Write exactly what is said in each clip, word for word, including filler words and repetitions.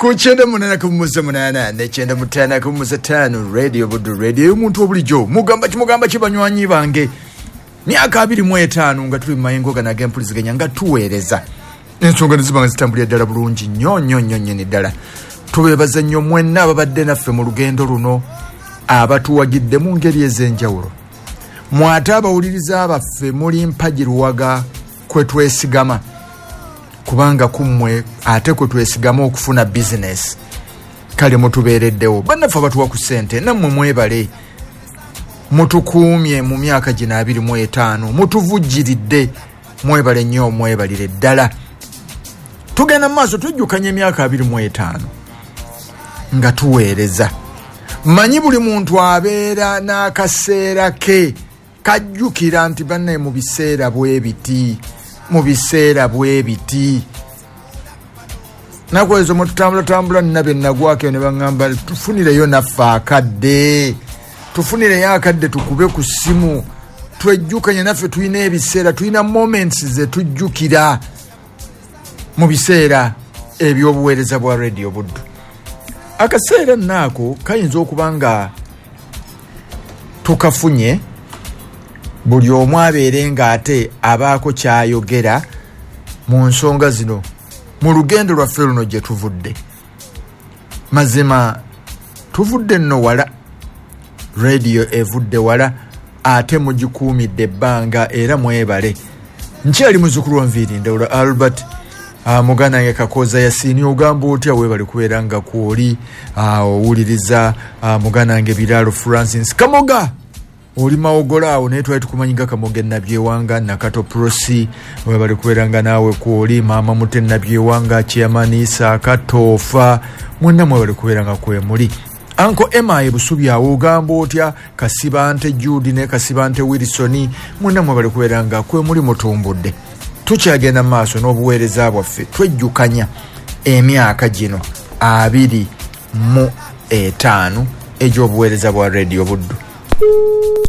Ku kyenda munaana ku munaana ne kyenda mutaano ku ttaano, Radio Buddu, radio y'omuntu obulijjo. Mugamba ki, mugamba ki banywanyi bange? Myaka abiri mu etaano nga tuli mu mayengo gano ag'empuliziganya nga tuweereza. Ensonga ne ziba nga zitambulira ddala bulungi nnyo nnyo nnyo nnyini ddala. Tubeebaza nnyo mwenna ababadde naffe mu lugendo luno, abatuwagidde mu ngeri ez'enjawulo. Mwate abawuliriza baffe muli mpagi luwaga kwe twesigama, kubanga kummwe ate kwe twesigama okufuna bizinesi. Kale mutubeereddewo bannaffe abatuwa ku ssente, nammwe mwebale, mutukuumye mu myaka gino abiri mu etaano, mutuvujjiridde, mwebale nnyo, mwebalire ddala. Tugenda mu maaso twejjukanya emyaka abiri mu etaano nga tuweereza. Manyi buli muntu abeera n'akaseera ke kajjukira nti bannaye mu biseera bwe biti, mu biseera bwe biti. Naku ezo mwe tutambulatambula nina be nagwako ne baŋŋamba tufunireyo naffe akadde, tufunireyo akadde tukube ku ssimu twejjukanye naffe. Tulina ebiseera, tulina moments ze tujjukira mu biseera eby'obuweereza bwa Radio Buddu. Akaseera nnaako kayinza okuba nga tukafunye, buli omu abeere ng'ate abaako kyayogera mu nsonga zino mu lugendo lwaffe luno gye tuvudde. Mazima tuvudde nno wala, radio evudde wala, ate mugikuumidde ebbanga era mwebale. Nkyali muzzukulu wa Nviiri Ndawula Albert. Uh, muganda wange Kakoza Yasini, ogamba otya? Weebale kubeera nga kwoli owuliriza. uh, muganda wange Biralo Francis Kamoga, oli Mawogola awo, naye twali tukumanyi nga Kamoga Nabyewanga Nakato Prosi, weebale kubeera nga naawe kwoli. Maama Mute Nabyewanga, Chairman Isa Katoofa, mwenna mwebale kubeera nga kwemuli. Anko Emma Ebusubi awo, ogamba otya? Kasibante Jude ne Kasibante Wilson, mwenna mwebale kubeera nga kwemuli, mutumbudde. Tukyagenda mu maaso n'obuweereza bwaffe, twejjukanya emyaka gino abiri mu etaano egy'obuweereza bwa Radio Buddu.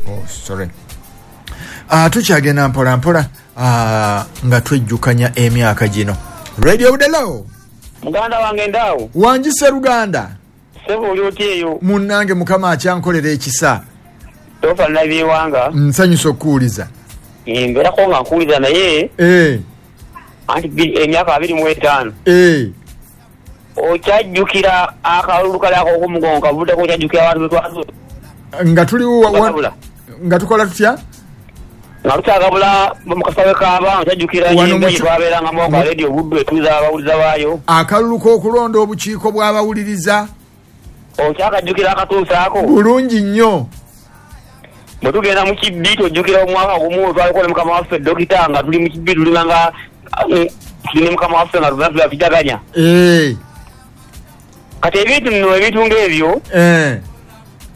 Oh, sorry. Uh, tukyagenda mpola mpola uh, nga twejjukanya emyaka gino. Radio Buddu. Muganda wange ndawo. Wangi Sseruganda. Ssebo oli otya eyo? Munnange Mukama akyankolera ekisa. Tofa Nabyewanga. Nsanyusa okuwuliza. Mbeerako nga nkuwuliza naye. Eh. Anti emyaka abiri mu etaano. Eh. Okyajjukira akalulu kali ak'okumugongo kavuddeko, okyajjukira abantu be twazo. Nga tuli nga tukola tutya? Nga tukyagabula mu kasawe k'abaana, okyajjukira ennyimba gye twabeerangamu nga Radio Buddu etuuza abawuliza baayo. Akalulu k'okulonda obukiiko bw'abawuliriza. Okyakajjukira akatuusa ako? Bulungi nnyo. Bwe tugenda mu kibbi tojjukira omwaka gumu twaliko ne mukama waffe Dokita nga tuli mu kibbi tulina nga tuli ne mukama waffe nga tuna tujaganya. Eh. Kati ebintu nno ebintu ng'ebyo. Eh.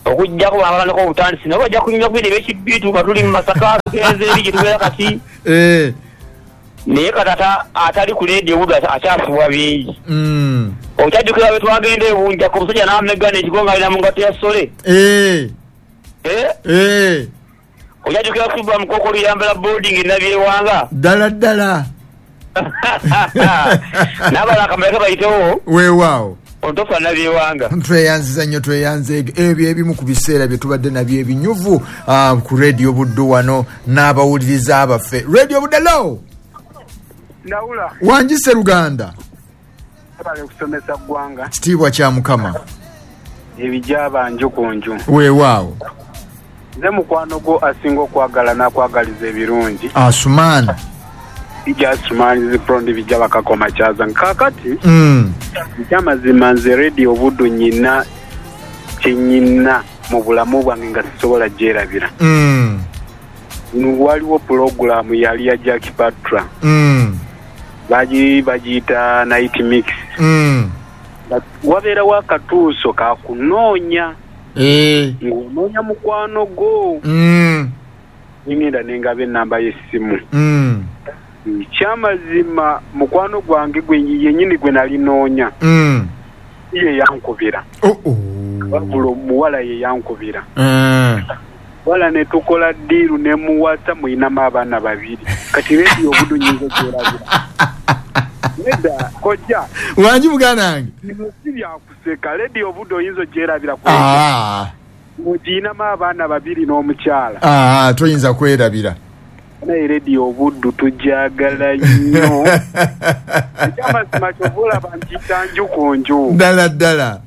Okuggyako abalanako obutandisi nabo bajja kunyumya ku bino eby'ekibbi nga tuli mu Masaka tugenze eri gye tubeera kati. Eh. Naye kati atali ku Radio Buddu akyasubwa bingi. Mm. Okyajjukira bwe twagenda e Bunja ku musajja n'amegga n'ekigo ng'alina mu ngatto ya ssole. Eh. Eh? Eh. Okyajjukira kuba mukoko luyambala boarding Nabyewanga. Ddala ddala. N'abalala akamala bayitewo. Weewaawo. Ontofa Nabyewanga. Tweyanziza nnyo, tweyanze ebyo ebimu ku biseera bye tubadde nabyo ebinyuvu uh, ku Radio Buddu wano n'abawuliriza abaffe. Radio Buddu lo. Ndawula. Wangi Sseruganda. Bale kusomesa ggwanga. Kitiibwa kya Mukama. Ebijaba nju ku nju. Weewaawo. Nze mukwano gwo asinga okwagala n'akwagaliza ebirungi. Asumaani. Bijja Asumaani ziprondi bijja bakakoma kyaza. Kaakati. Mm. Ekyamazima nze Radio Buddu nnyina kye nnyina mu bulamu bwange nga sisobola gyerabira. Mm. Waliwo pulogulaamu yali ya Jack Patra. Mm. Bagi bagiyita Night Mix. Mm. Wabeerawo akatuuso kakunoonya. Eh. Ng'onoonya mukwano gwo. Mm. Ngenda nengaba ennamba y'essimu. Mm. Ekyamazima mukwano gwange gwe yennyini gwe nali noonya. Mm. Ye yankubira. Oh oh. Wabula omuwala ye yankubira. Mm. Wala ne tukola ddiiru ne muwasa muyinamu abaana babiri. Kati Radio Buddu nnyinza ogyerabira. Nedda kojja. Wangi muganda wange. Bino si Byakuseka Radio Buddu oyinza ogyerabira ku ah. Muginamu abaana babiri n'omukyala. Ah, toyinza kwerabira. Naye Radio Buddu tujagala nnyo. Ekyamazima kyova olaba nkiyita nju ku nju. Ddala ddala.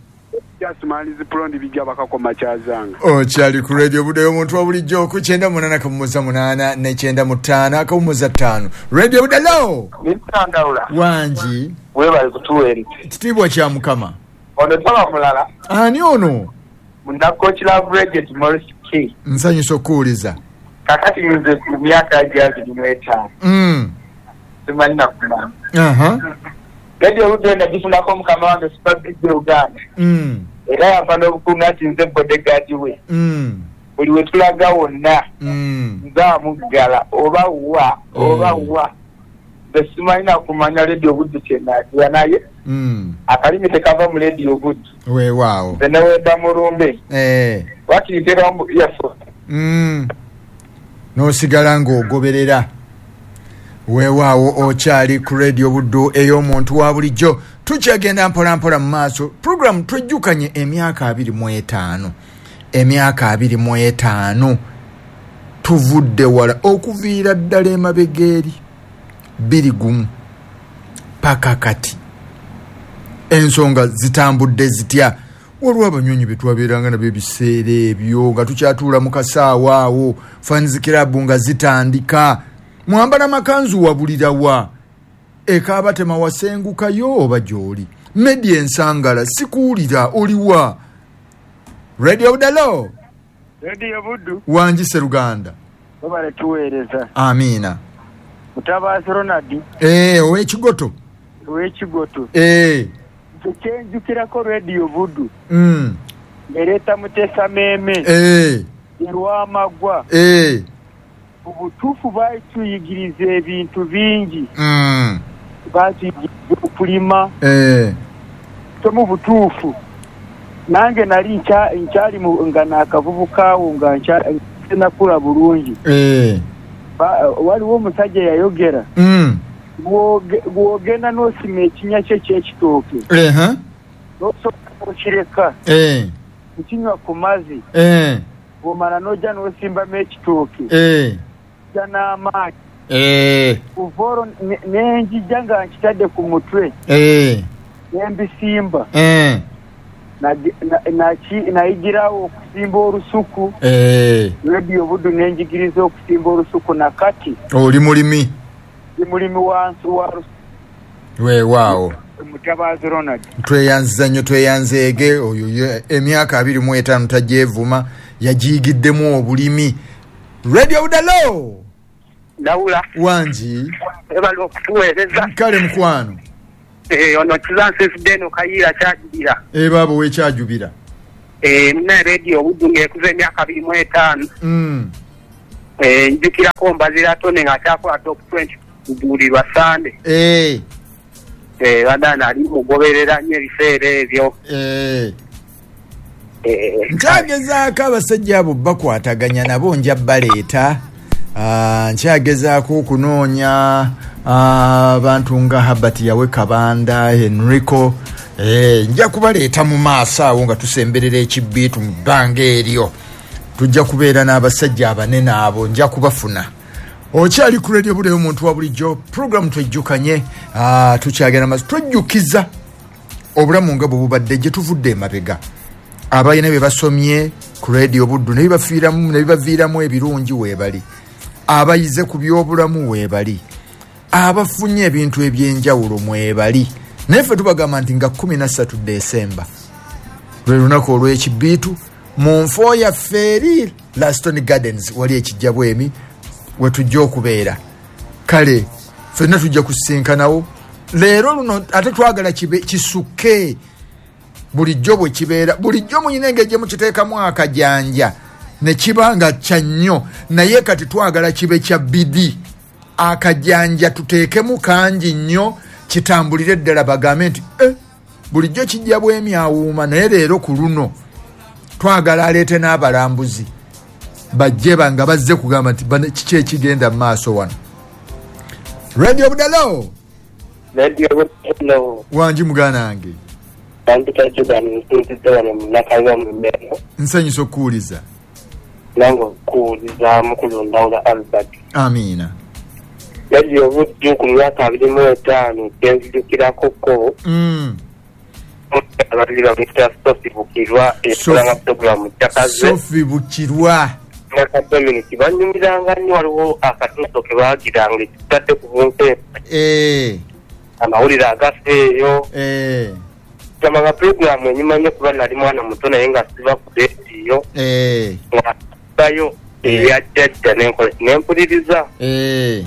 Jasmalizi Plondi bijja bakakoma kyazanga. Okyali ku Radio Buddu ey'omuntu wa bulijjo ku kyenda munaana akawummuza munaana ne kyenda mu ttaano akawummuza ttaano. Radio Buddu hello. Nitandawula. Wangi. Webale kutuweereza. Kitiibwa kya Mukama. Ono taba mulala. Ani ono? Munnakochi Love Regent Morris K. Nsanyusa okuwuliza. Kakati nze ku myaka gyabiri mu etaano. Mm. Simanyi na kumanya. Aha. Radio Buddu nagifunako mukama wange Super Big Uganda. Mm. Era yampa n'obukuumi ati nze bodyguard we. Mm. Buli we tulaga wonna. Mm. Nze amuggala oba wa oba wa. Nze simanyi na kumanya Radio Buddu kye naagira naye. Mm. Akalimi tekava mu Radio Buddu. Weewaawo. Nze newedda mulumbe. Eh. Wakiri mu earphone. Mm. N'osigala ng'ogoberera. Weewaawo okyali ku Radio Buddu ey'omuntu wa bulijjo. Tukyagenda mpola mpola mu maaso. Program twejjukanye emyaka abiri mu etaano. Emyaka abiri mu etaano. Tuvudde wala okuviira ddala emabega eri bbiri gumu paka kati. Ensonga zitambudde zitya? Waliwo abanyonyi be twabeeranga nabo ebiseera ebyo nga tukyatuula mu kasaawa awo, fans club nga zitandika. Mwambala makanzu wabulira wa? Ekaabatema wasengukayo oba gy'oli? Media Ensangala sikuwulira oliwa? Radio Buddu. Radio Buddu. Wangi Sseruganda. Webale tuweereza. Amiina. Mutabazi Ronald. Eh, ow'Ekigoto. Ow'Ekigoto. Eh. Kyenjukirako Radio Buddu. Mm. Ereeta Mutesa Meeme. Eh. Erwamagwa. Eh. Obutuufu baatuyigiriza ebintu bingi. Mm. Baatuyigiriza okulima. Eh. So mu butuufu nange nali nkyali nga naakavubuka nga nkyali bulungi. Eh. Waliwo omusajja yayogera. Mm. Bw'ogenda n'osima ekinnya kye eky'ekitooke. Eh. N'osooka okireka. Eh. Okinywa ku mazzi. Eh. Bw'omala n'ojja n'osimbamu ekitooke. Eh. Ojja n'amaanyi. Eh. Kuva olwo ne njija nga nkitadde ku mutwe. Eh. Ne mbisimba. Eh. Nayigirawo okusimba olusuku. Eh. Radio Buddu ne njigiriza okusimba olusuku na kati. Oli mulimi. Ndi mulimi wansi wa lusuku. Weewaawo. Mutabazi Ronald. Tweyanziza nnyo tweyanzeege oyo emyaka abiri mu etaano tagyevuma yagiyigiddemu obulimi. Radio Buddu. Ndawula. Wangi. Webale okutuweereza. Kale mukwano. Eh, ono Kizansi Deno Kayiira kyajubira. Eh, baabo wekyajubira. Eh, muna Radio Buddu ng'ekuza emyaka abiri mu etaano. Mm. Eh, njukirako Mbazira Tone ng'akyakola top twenty buli lwa Sande. Eh. Eh, badana ali mugoberera nnyo ebiseera ebyo. Eh. Eh, nkyagezaako abasajja abo bakwataganya nabo nja baleeta. Ah, nkyagezaako okunoonya abantu nga Herbert Yawe Kabanda, Henrico. Eh, nja kubaleeta mu maaso awo nga tusemberera ekibbiitu mu bbanga eryo. Tujja kubeera n'abasajja abanene abo nja kubafuna. Okyali ku Radio Buddu ey'omuntu wa bulijjo, program twejjukanye, ah, tukyagenda maaso twejjukiza obulamu nga bwe bubadde gye tuvudde emabega. Abalina bye basomye ku Radio Buddu ne bibafiiramu ne bibaviiramu ebirungi weebali. Abayize ku by'obulamu weebali. Abafunye ebintu ebyenjawulo mwebali. Naye ffe tubagamba nti nga kkumi na ssatu Desemba lwe lunaku olw'ekibbiitu mu nfo yaffe eri Laston Gardens wali ekijja bwemi we tujja okubeera. Kale ffenna tujja kusisinkanawo leero luno ate twagala kibe kisukke bulijjo bwe kibeera. Bulijjo muyina engeri gye mukiteekamu akajanja ne kiba nga kya nnyo, naye kati twagala kibe kya bidi. Akajanja tuteekemu kangi nnyo kitambulire ddala bagambe nti eh, bulijjo kijja bwemi awuuma, naye leero ku luno twagala aleete n'abalambuzi bajje nga bazze kugamba nti kiki ekigenda mu maaso wano. Radio Buddu. Radio Buddu. Wangi muganda wange. Bampita Jordan nsinzidde wano mu Nakayiwa mu Mmengo. Nsanyusa okuwuliza. Nange okuwuliza mukulu Ndawula Albert. Amiina. Yali obuddu ku myaka abiri mu etaano gye ko. Mm. Ababiri bamuyita Sophie Bukirwa eyakolanga pulogulaamu Jakaze. Sophie Bukirwa. Naka Dominic banyumiranga nnyo, waliwo akatuuso ke baagiranga ekitadde ku bunkenke. Eh. Amawulire agafa eyo. Eh. Nga pulogulaamu enyuma nnyo kuba nali mwana muto naye nga siva ku leediyo. Eh. Nga bayo ebya jjajja n'enkola ne mpuliriza. Eh.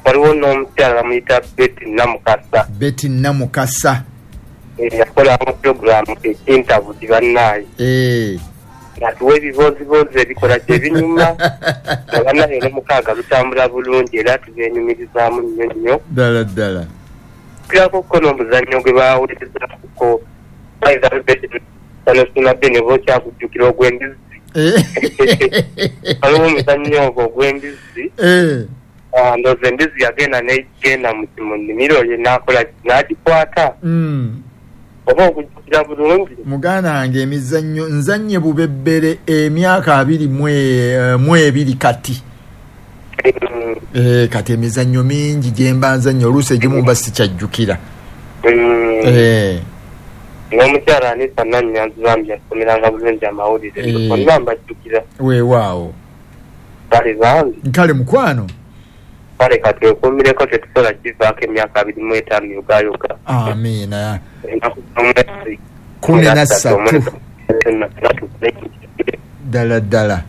Waliwo n'omukyala bamuyita Betty Namukasa. Betty Namukasa. Yakolanga pulogulaamu ekintabudi bannaaye. Eh. Ng'atuwa ebibooziboozi ebikola gye binyuma. Nga bannaaye n'omukaaga lutambula bulungi era tubyenyumirizaamu nnyo nnyo. Ddala ddala. Kirako ko n'omuzannyo gwe baawulirizaako ne bokyakujjukira ogw'embizzi. Waliwo omuzannyo ogwo ogw'embizzi. Ndowooza embizzi yagenda n'egenda mu nnimiro ye n'akola n'agikwata. Oba okujjukira bulungi. Muganda wange emizannyo nzannye bubebbere emyaka abiri mu ebiri kati. Eh, kati emizannyo mingi gye mba nzannye oluusi egimu mba sikyajjukira. Eh. N'omukyala Anita Nannyanzi bambi yasomeranga bulungi amawulire. Bonna mbajjukira. Weewaawo. Kale bambi. Kale mukwano. Kale katwekuumireko tetusobola kivaako emyaka abiri mu etaano yogaayoga. Amiina. Kumi na ssatu. Ddala ddala.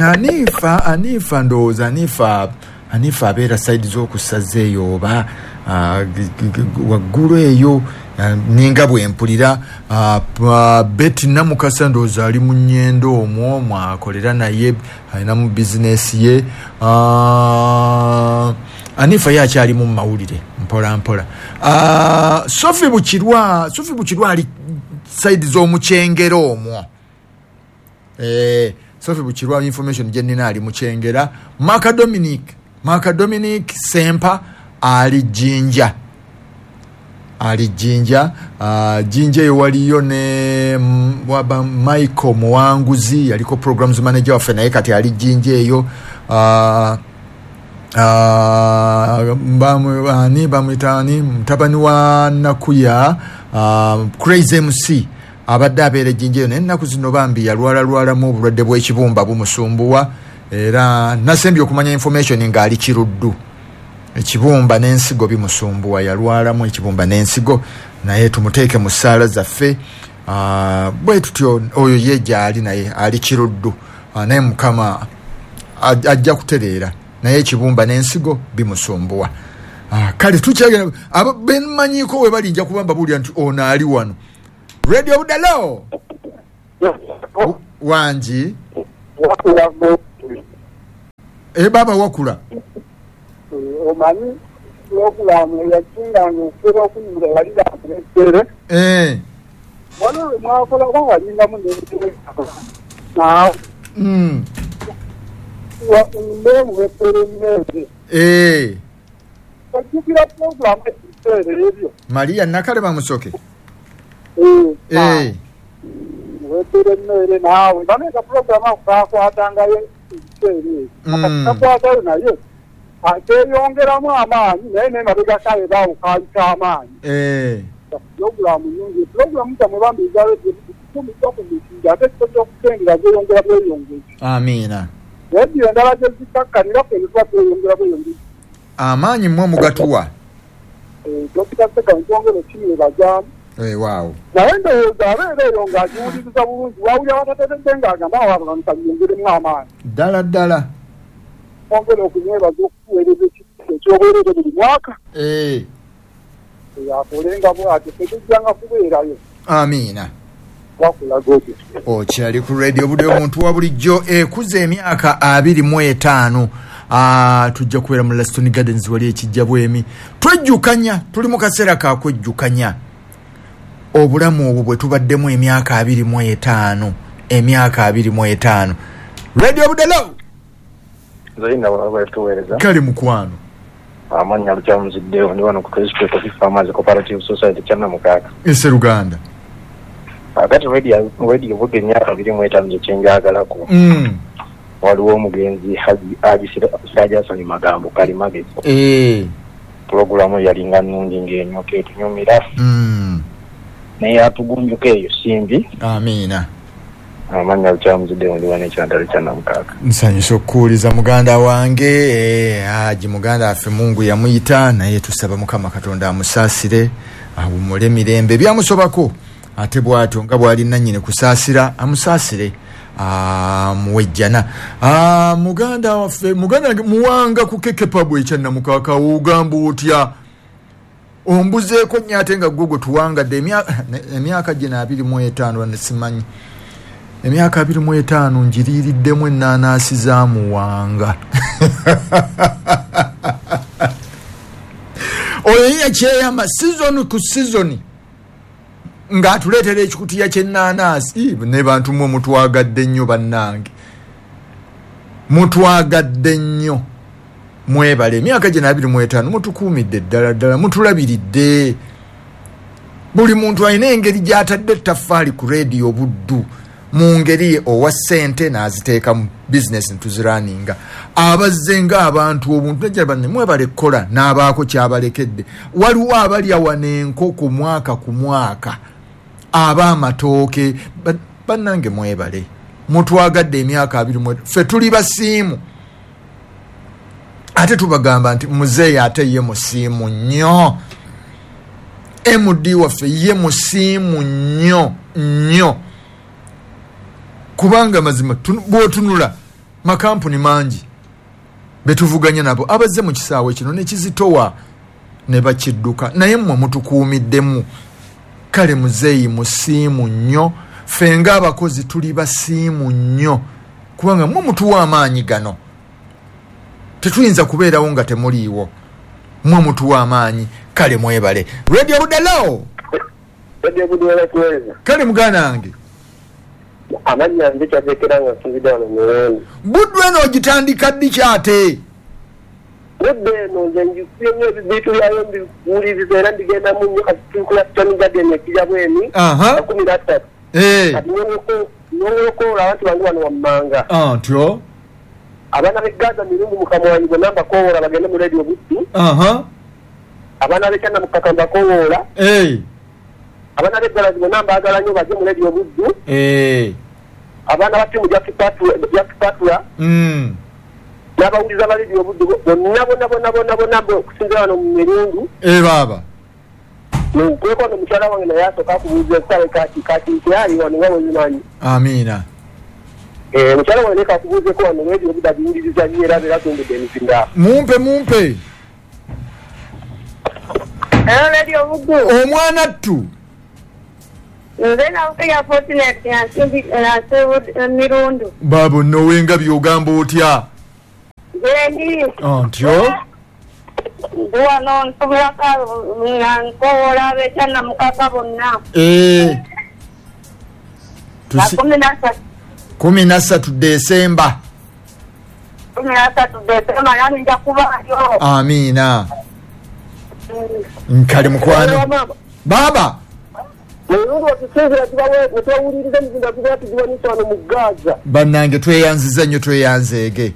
Anifa, Anifa ndowooza Anifa, Anifa abeera sayidi z'okusaza eyo oba waggulu eyo ninga bwe mpulira. Betty Namukasa ndowooza ali mu nnyendo omwo mwakolera naye alinamu bizinesi ye. Anifa ye akyali mu mawulire mpola mpola. Sophie Bukirwa, Sophie Bukirwa ali sayidi z'omukyengero omwo. Eh, Sophie Bukirwa information gye nnina ali mukyengera. Maka Dominic, Maka Dominic Sempa ali Jinja. Ali Jinja, uh, Jinja eyo waliyo ne waba Michael Muwanguzi yaliko programs manager waffe naye kati ali Jinja eyo. Uh, uh, bamu, ani bamuyita ani mutabani wa Nakuya, uh, Crazy M C abadde abeera Jinja eyo naye ennaku zino bambi yalwalalwalamu obulwadde bw'ekibumba bumusumbuwa era nasembye okumanya information ng'ali Kiruddu. Ekibumba n'ensigo bimusumbuwa, yalwalamu ekibumba n'ensigo naye tumuteeke mu ssaala zaffe. Uh, bwe tutyo oyo ye gy'ali naye ali Kiruddu, uh, naye Mukama ajja kutereera naye ekibumba n'ensigo bimusumbuwa. Uh, kale tukyagenda abo bemmanyiiko we bali nja kuba mbabuulira nti ono ali wano. Radio Budalo wangi e baba wakula omanyi pulogulaamu eyakinganga okusobola okunyumira yalira akuletere. Eh. Waliwo mwakola oba walingamu naawe. Mm. Mbemuwetere emmere. Eh. Ojjukira pulogulaamu ekiseera ebyo. Maria Nakalema Musoke. Eh. Eh. Muwetere emmere naawe. Baneka pulogulaamu ako kaakwatangayo ekiseera ebyo. Mm. Akakwatayo naye. Akyeyongeramu amaanyi naye n'emabega kaye baawo kaali k'amaanyi. Eh. Pulogulaamu nnyingi. Pulogulaamu zammwe bambi eza ku mitindo ate ekifo ky'okutendera zeeyongera bweyongezi. Amiina. Rediyo endala gye zikakkanira ffe ne tuba tweyongera bweyongezi. Amaanyi mmwe mugatuwa. Dokita Ssegawa nkyongera okimwebazaamu. Weewaawo. Naye ndowooza abeera eyo ng'agiwuliriza bulungi wawulira watateredde ng'agamba awo abantu kanyongeremu amaanyi. Ddala ddala. Ongera okumwebaza okutuweereza ekyobwereere buli mwaka. Eh. Akolenga bw'atyo tetujjanga kubeerayo. Amiina. Wakulaga otyo. Okyali ku Radio Budde omuntu wa bulijjo ekuza emyaka abiri mu etaano. Ah, tujja kubeera mu Laston Gardens wali ekijja bwemi. Twejjukanya, tuli mu kaseera ka kwejjukanya. Obulamu obwo bwe tubaddemu emyaka abiri mu etaano. Emyaka abiri mu etaano. Radio Budde. Zaina wabatuweereza. Kale mukwano. Amannya Lukyamuzi ndi wano ku Kristo Coffee Farmers Cooperative Society Kyannamukaka. Sseruganda. Akati radio radio Buddu emyaka abiri mu etaano gye kyenjagalako. Mm. Waliwo omugenzi Haji Haji Siraje Hassan Magambo Kalimagezi. Eh. Pulogulaamu yalinga nnungi ng'enyoka etunyumira. Mm. Naye atugunjuka eyo simbi. Amiina. Amannya Lukyamuzi ndi wano ekyantalo Kyannamukaka. Nsanyusa okukuwuliza muganda wange. Eh, Haji muganda waffe Mungu yamuyita, naye tusaba Mukama Katonda amusaasire, awummule mirembe. Byamusobako ate bw'atyo nga bw'ali nannyini kusaasira, amusaasire amuwejjana. Ah, muganda waffe, muganda wange Muwanga ku Kekepabu ekyannamukaka, ogamba otya? Ombuzeeko nnyo ate nga ggwe gwe tuwangadde emyaka gino abiri mu etaano ne simanyi. Emyaka abiri mu etaano njiriiriddemu ennaanasi za Muwanga. Oyo ye yakyeyama sizoni ku sizoni ng'atuleetera ekikutiya ky'ennaanasi. Ne bantu mmwe mutwagadde nnyo bannange, mutwagadde nnyo, mwebale. Emyaka gino abiri mu etaano mutukuumidde ddala ddala, mutulabiridde. Buli muntu alina engeri gy'atadde ettaffaali ku rediyo Buddu mu ngeri ye owa ssente n'aziteeka mu bizinesi ntuziraninga. Abazze ng'abantu obuntu najja banne mwebale kukola n'abaako kyabalekedde. Waliwo abalya wano enkoko mwaka ku mwaka, ab'amatooke. Bannange mwebale, mutwagadde emyaka abiri mu ffe tuli basiimu. Ate tubagamba nti muzeeyi ate ye musiimu nnyo, M D waffe ye musiimu nnyo nnyo, kubanga mazima bw'otunula makampuni mangi betuvuganya nabo abazze mu kisaawe kino nekizitowa ne bakidduka, naye mmwe mutukuumiddemu. Kale muzeeyi musiimu nnyo, ffe ng'abakozi tuli basiimu nnyo, kubanga mmwe mutuwa amaanyi gano. Tetuyinza kubeerawo nga temuliiwo, mmwe mutuwa amaanyi. Kale mwebale. Radio Buddu. Radio Buddu. Kale muganda wange. Amannya nze kyateekera nga nsinzidde wano Mirundi. Buddu eno ogitandika ddi kyate? Buddu eno nze ngikubye nnyo ebibiitu byayo mbiwuliriza era mbigendamu nnyo. Kati tuli ku Stone Garden e Kijabweni makumi na ssatu. Kati nyongolokoola abantu bange wano wammanga. Ntyo? Abaana b'e Gaza Mirundi mu Kamwanyi bonna mbakowoola bagende mu Radio Buddu. Abaana b'e Kyannamukaka mbakowoola. Abaana b'e Ggalazi bonna mbaagala nnyo bajje mu Radio Buddu. Abaana ba ttiimu Jack mm. n'abawuliza ba Radio Buddu bonna bonna bonna bonna bonna okusinziira wano mu Mirundi. Eh baaba. Nkweko no mukyala wange naye asooka akubuuza essaawa kati kati nkyali wano nga bw'obimanyi. Amiina. Eh mukyala wange leka akubuuzeeko wano Radio Buddu agiwuliriza nnyo era abeera atumbudde emizinga. Mumpe mumpe. Hello Radio Buddu. Omwana ttu. Nze Nabukeya Fortunate nsimbi Mirundi. Baabo nno by'ogamba otya? Nze ndi. Ntyo? Ndi wano nsubirako nga nkowoola ab'ekyannamukaka bonna. Eh. Kumi na ssatu. Kumi na ssatu Desemba. Kumi na ssatu Desemba nani nja kubaayo. Amiina. Nkale mukwano. Baba. Bannange tweyanziza nnyo tweyanzeege.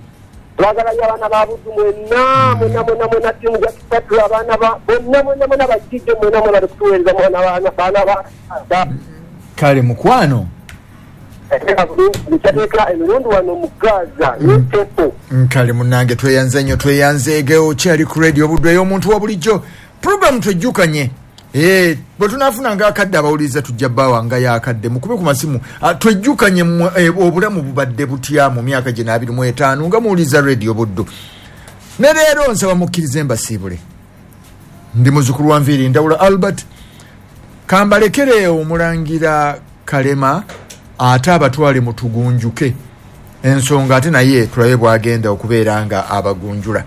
Twagala nnyo abaana ba Buddu mwenna mwenna mwenna mwenna ttiimu Jack abaana ba bonna mwenna mwenna bakijje mwenna mwenna bali kutuweereza mwana baana baana ba Kale mukwano. Kyateeka emirundi wano mu Gaza ne Nkale munnange tweyanze nnyo tweyanzeege. Okyali ku Radio Buddu ey'omuntu wa bulijjo. Program twejjukanye. Eh, bwe tunaafuna ng'akadde abawuliriza tujja bbaawa nga y'akadde mukube ku masimu. Twejjukanye obulamu bubadde butya mu myaka gino abiri mu etaano nga muwuliriza Radio Buddu. Ne leero nsaba mukkirize mbasiibule. Ndi muzzukulu wa Nviiri Ndawula Albert. Kambalekere omulangira Kalema ate abatwale mutugunjuke ensonga ate naye tulabe bw'agenda okubeera nga abagunjula.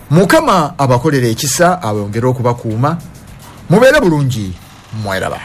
Mukama abakolere ekisa abongere okubakuuma. Mubeere bulungi, mweraba.